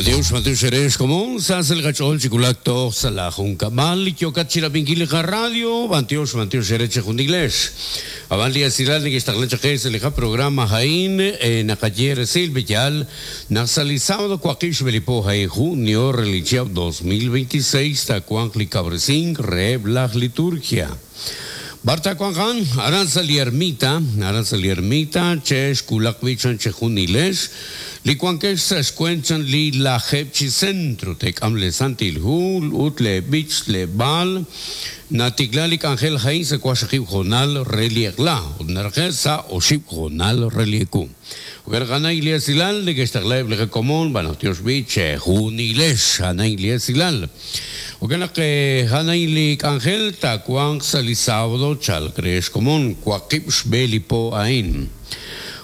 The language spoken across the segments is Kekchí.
Matiox, Matiox erex komon, sa sa' li qach'ool chi wulak toj sa' laa junkab'al li yookat chirab'inkil li qaradio, b'antiox, b'antiox eere chejunilex. Ab'an li esilal neke'xtaqla chaq qe sa' li qaprograma a'in, naqaye resil b'eyal naq sa' li sábado waqib' xb'e li po a'in junio re li chihab' 2026 taawanq li kawresink reheb' laj liturgia. B'ar taawanq a'an? Aran sa' li ermita, aran sa' li ermita, chexwulaq b'i' chan chejunilex, li wankex sa' xweent chan li lajeeb' chi centro, teek'am lee Santil Hu ut lee b'ich, lee b'aal. Natikla li k'anjel a'in sa' waqxaqib' hoonal re li eq'la ut naraqe' sa' oxib' hoonal re li ewu. Jo'kan naq a'an li esilal neke'xtaqla eb' li qakomon, b'an naq tiox b'i' chejunilex, a'an li esilal. Jo'kan naq a'an a'in li k'anjel taawanq sa' li sábado chalk re xkomon waqib' xb'e li po a'in.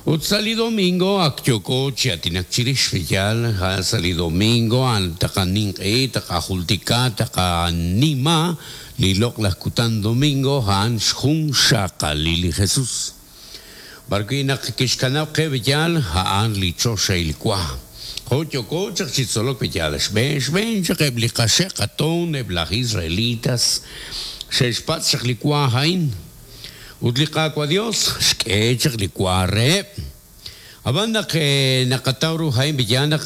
Ut sa' li domingo ak yooko chi aatinak chirix, yaal, sa' li domingo a'an taqaninq'ehi, taqajultika, taqanima li loq'laj kutan domingo a'an xjunxaqalil li Jesus. B'ar wi' naq kixkanab' qe b'eyal, a'an li choxahil wa. Jo' yooko chaq chi tzolok b'eyal, xb'een xb'een chaq eb' li qaxe' qatoon eb' laj Israelitas xe'xpatz' chaq li wa a'in, ut li Qaawa' Dios xk'e chaq li wa reheb'. Ab'an naq naqataw ru a'in b'eyal naq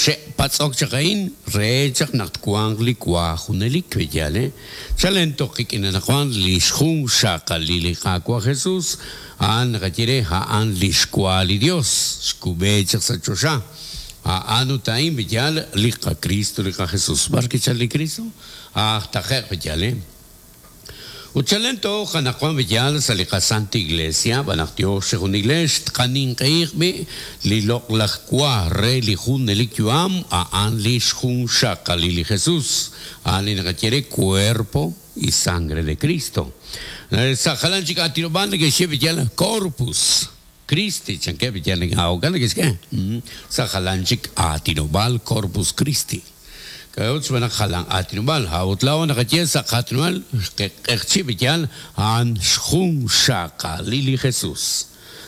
xe'patz'ok chaq a'in re chaq naq twanq li wa junelik b'eyal. Chalen toj qik'in anaqwan li xjunxaqalil li Qaawa' Jesus, a'an naqaye re, a'an li xwa li Yos, xkub'e chaq sa' choxa. A'an ut a'in b'eyal li qaKristo, li qaJesus. B'ar kichalk li Kristo? Aj taqe'q b'eyal. Ut chalen toj anaqwan b'eyal sa' li qaSanta Iglesia, b'an naq Yos chejunilex tqaninq'ehiq b'i' li loq'laj wa re li junelik yu'am, a'an li xjunxaqalil li Jesus, a'an li naqaye re cuerpo y sangre de Cristo. Sa' jalan chik aatinob'aal neke'xye b'eyal corpus Christi, chankeb' b'eyal jo'kan neke'xk'e sa' jalan chik aatinob'aal corpus Christi. K'a'ut xb'aan naq jalan aatinob'aal? A'ut laa'o naqaye sa' qaatinob'aal q'eqchi' b'eyal a'an xjunxaqalil li Jesus.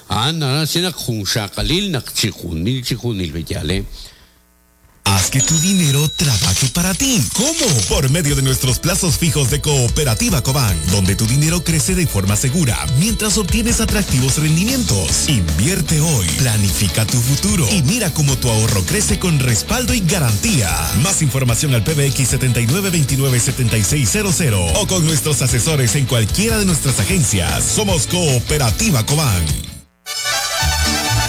A'an naraj xye naq junxaqalil naq chijunil chijunil b'eyal. Haz que tu dinero trabaje para ti. ¿Cómo? Por medio de nuestros plazos fijos de Cooperativa Cobán, donde tu dinero crece de forma segura mientras obtienes atractivos rendimientos. Invierte hoy, planifica tu futuro y mira cómo tu ahorro crece con respaldo y garantía. Más información al PBX 7929-7600 o con nuestros asesores en cualquiera de nuestras agencias. Somos Cooperativa Cobán.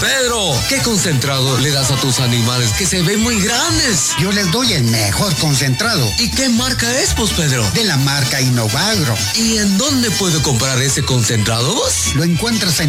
Pedro, ¿qué concentrado le das a tus animales que se ven muy grandes? Yo les doy el mejor concentrado. ¿Y qué marca es, pues, Pedro? De la marca Innovagro. ¿Y en dónde puedo comprar ese concentrado vos? Lo encuentras en